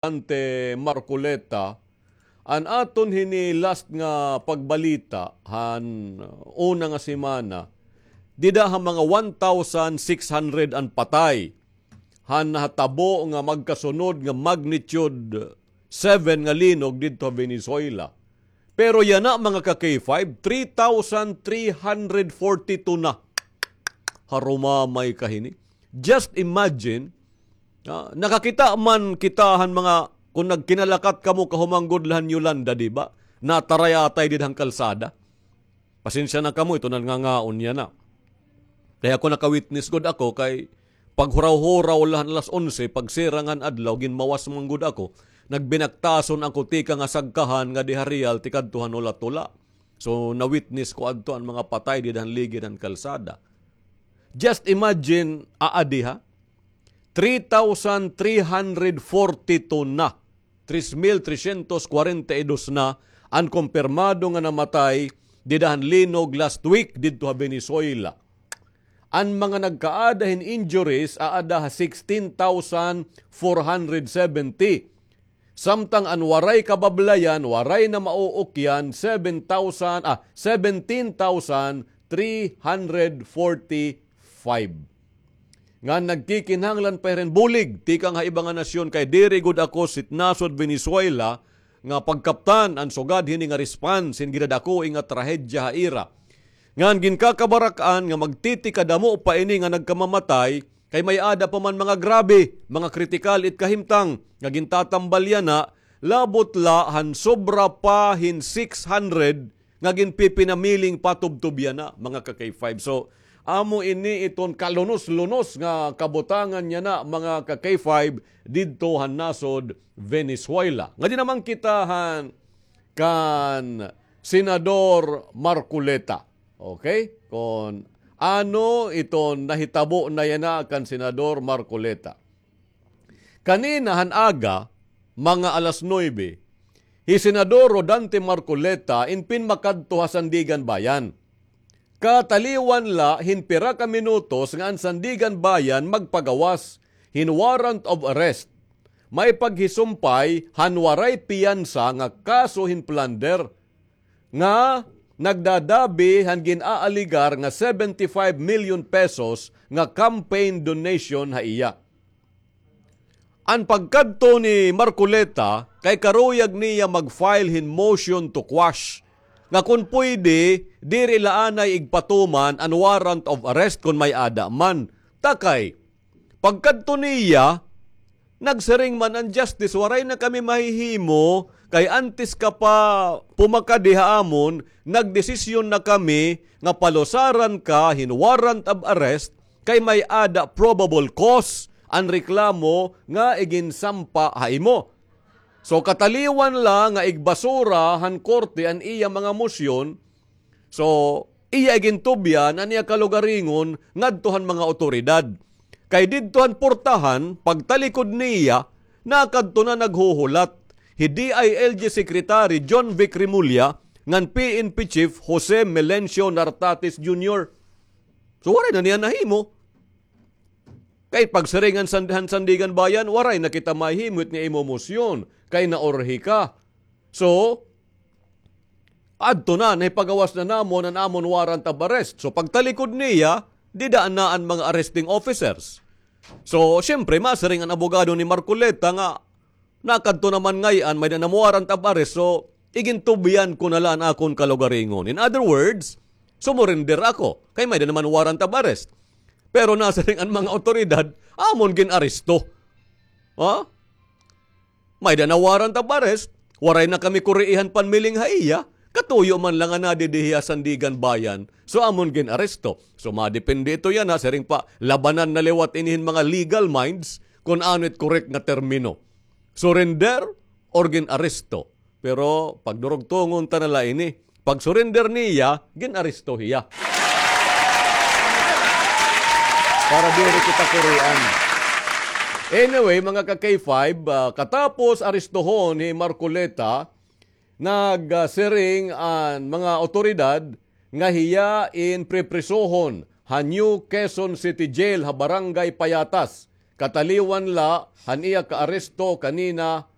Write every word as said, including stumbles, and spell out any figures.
Dante Marcoleta, an aton hini last nga pagbalita han una nga semana, dida ha mga one thousand six hundred an patay han nahatabo nga magkasunod nga magnitude seven nga linog didto ha Venezuela. Pero yana, mga ka-K five, three thousand three hundred forty-two na. Harumamay ka hini. Just imagine, ah, nakakita man kita han mga, kun nagkinalakat kamo kahuman gud la han Yolanda, di ba? Nataray-atay dida han kalsada. Pasensya na kamo, ito na nga nga unya na. Kay ako naka-witness gud ako kay paghuraw-huraw la han alas onse, pagsirang han adlaw, ginmawas man gud ako. Nagbinaktason ako tikang ha sagkahan nga dida ha Real, tikadto han Ola-Tola. So, na-witness ko adto an mga patay dida han ligid han kalsada. Just imagine, aadi ha? Three thousand three hundred forty-two na. Tres mil tresyentos kwarenta y dos na an kumpirmado nga namatay dida han linog last week didto ha Venezuela. An mga nagkaada hin injuries aada ha sixteen thousand four hundred seventy. Samtang an waray kabablayan, waray na mauukyan, seven thousand, ah, seventeen thousand three hundred forty-five. Ngan nagkikinahanglan pa hirin bulig tikang ha iba nga nasyon, kay diri gud ako sitnasod Venezuela nga pagkaptan an sugad hini nga response hin ginadakoi nga trahedya ha ira. Ngan ginkakabarak-an nga magtitikadamo pa ini nga nagkamamatay, kay may-ada pa man mga grabe, mga kritikal it kahimtang nga gintatambal yana, labot la han sobra pa hin six hundred nga ginpipinamiling patubtob yana, mga ka-K five. So, amo ini iton kalunos-lunos nga kabutangan yana, mga ka-K five, didto han nasod Venezuela. Ngadi naman kita han kan Senador Marcoleta. Okay? Kon ano iton nahitabo na yana kan Senador Marcoleta. Kanina han aga, mga alas nuebe, hi Senador Rodante Marcoleta in pinmakadto ha Sandiganbayan. Kataliwan la hin pira ka minutos nga an Sandiganbayan magpagawas hin warrant of arrest. May paghisumpay han waray piyansa nga kaso hin plunder nga nagdadabi han gin-aaligar nga seventy-five million pesos nga campaign donation ha iya. An pagkadto ni Marcoleta kay karuyag niya mag-file hin motion to quash, nga kon pwede, diri la anay igpatuman an warrant of arrest kon may-ada man. Ta kay, pagkadto niya, nagsiring man an justice, "Waray na kami mahihimo, kay antes ka pa pumakadi ha amon, nagdesisyon na kami nga palusaran ka hin warrant of arrest, kay may-ada probable cause an reklamo nga iginsampa ha imo." So, kataliwan la nga igbasura han korte an iya mga mosyon, so, iya igintubyan an iya kalugaringon ngadto han mga awtoridad. Kay didto han portahan, pagtalikod niya, nakadto na naghuhulat hi D I L G Secretary John Vic Remulla ngan P N P Chief Jose Melencio Nartates Junior. So, waray na niya nahimo. Kay pagsiring han San-, han Sandiganbayan, "Waray na kita mahimo it nga imo mosyon, kay naurhi ka." So, adto na, nahipagawas na namon an amon warrant of arrest. So, pagtalikod niya, dida na an mga arresting officers. So, siyempre, masiring an abogado ni Marcoleta nga, "Nakadto naman ngay-an, may-ada na warrant of arrest, so igintubyan ko na la an akon kalugaringon. In other words, sumurrender ako, kay may-ada naman warrant of arrest." Pero nasiring an mga awtoridad, "Amon gin-aresto." Ha? May-ada na warrant of arrest, waray na kami kuriihan panmiling ha iya, katuyo man la nga nadidi hiya Sandiganbayan, so amon gin-aresto. So madepende ito yana, siring pa, labanan na liwat ini hin mga legal minds kon ano it correct nga termino. Surrender or gin-aresto. Pero pagdurugtongon ta na la ini. Pag-surrender niya, gin-aresto hiya. Para diri kita kurian. Anyway, mga ka-K five, ah, katapos arestohon hi Marcoleta, nagsiring an mga awtoridad nga hiya in priprisohon ha New Quezon City Jail ha Barangay Payatas. kataliwan la han iya kaaresto kanina